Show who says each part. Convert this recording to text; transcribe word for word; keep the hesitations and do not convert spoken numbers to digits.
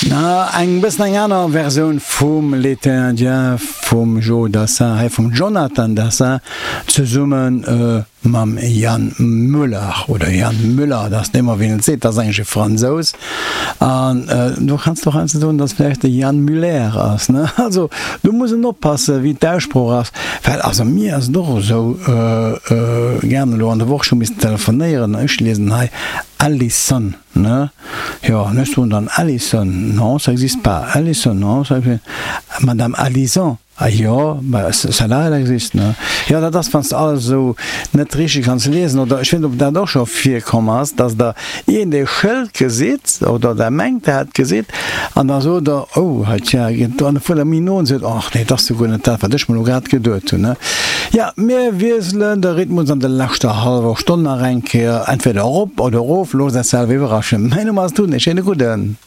Speaker 1: Na, eng bëssen eng aner Versioun vum L'été indien vum Joe Dassin, hei vum Jonathan Dassin zesumme mam Yann Muller oder Yann Müller, dat ass net ëmmer wien et seet, dat ass eigentlech e Fransous an do kanns de och heiansdo soen, datt vläicht de Yann Muller ass, ne? Also do muss en oppasse wéi d'Aussprooch ass, well also mir ass et och esou gaangen elo an der Woch, ech hu missen telefonéieren, ech liesen hei Alison. Ne? Jo, an ech soen dann Alison, non, ça existe pas, Alison, non, ça existe, Madame Alison, ah jo, bah celle-là, elle existe, ne? Jo, dat ass, wann s de alles esou net richteg kanns liesen, oder ech weess net, ob dat och scho virkomm ass, dass Der iergendee Schëld gesitt, oder Der mengt, Der hätt gesitt, an da sot Der, oh, hei, tja, an da fuert Der méi no an sot, ach nee, dat ass jo guer net dat, wat ech mer elo grad geduet hunn, ne? Ja, mir wiesselen de Rhythmus an der leschter hallwer Stonn nach eng Kéier, entweder erop oder erof, loosst Iech selwer iwwerraschen. Mäin Numm ass Tun, ee schéine gudden.